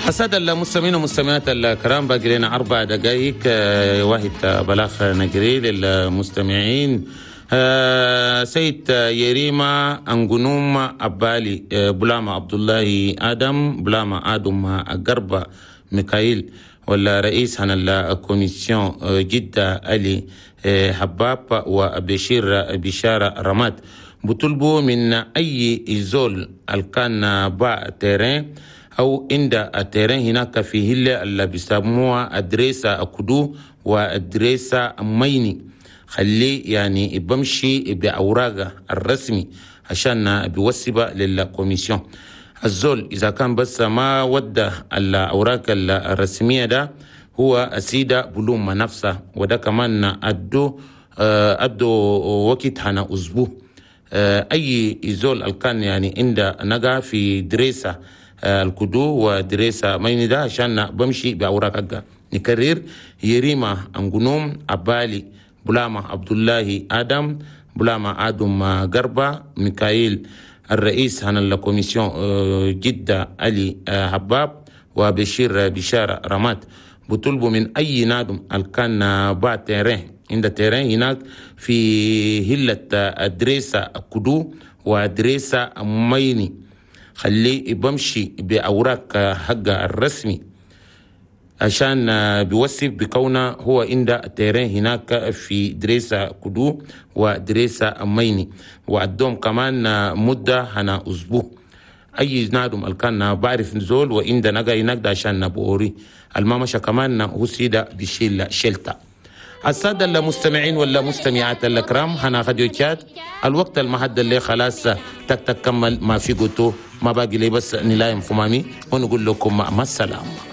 السادة المستمعين والمستمعات الكرام، باقي لنا 4 دقائق، واحد بلاغ نجري للمستمعين. سيد يريما أنجنوم أبالي، بلاما عبد الله آدم، بلاما آدم قربة ميكائيل، ولا رئيس هنا ال commission جدة علي حباب وبشير بشارة رماد، بطلبوا من أي زول الكان باع terrain أو عند terrain هناك في هلة اللي بيسموها أدريسة أكدو وأدريسة ميني، خليه يعني بمشي بأوراقه الرسمي عشان بيوسبها لل commission. الزول إذا كان بس ما ودى الأوراق الرسمية ده هو السيدة بلوم نفسه، وده كمان أدو وقت هنا أسبوع. أي زول كان يعني عند نجا في دريسة الكدو ودريسة ميني ده عشان بمشي بأوراق حقه. نكرر: يريما أنجنوم أبالي، بلاما عبد الله آدم، بلاما آدم قربة ميكائيل، الرئيس هنا ال commission جدة علي حباب وبشير بشارة رماد، بطلبوا من أي نادم الكان باع terrain، عند terrain هناك في هلة أدريسة كدو وأدريسة ميني، خليه بمشي بأوراق حقه الرسمي عشان بيوصف بكونه هو عند terrain هناك في دريسة كدو ودريسة ميني. وعندهم كمان مدة هنا أسبوع. أي نادم الكان بعرف نزول وعند نجا هناك ده عشان نبوري المامشة كمان هو سيدة بيشيل شلتا. السادة المستمعين ولا مستمعات الكرام، هنا راديو تشاد، الوقت المحدد اللي خلاص تك تك كمل ما في قلتو ما باقي لي بس نلايم خمامي ونقول لكم مع السلامة.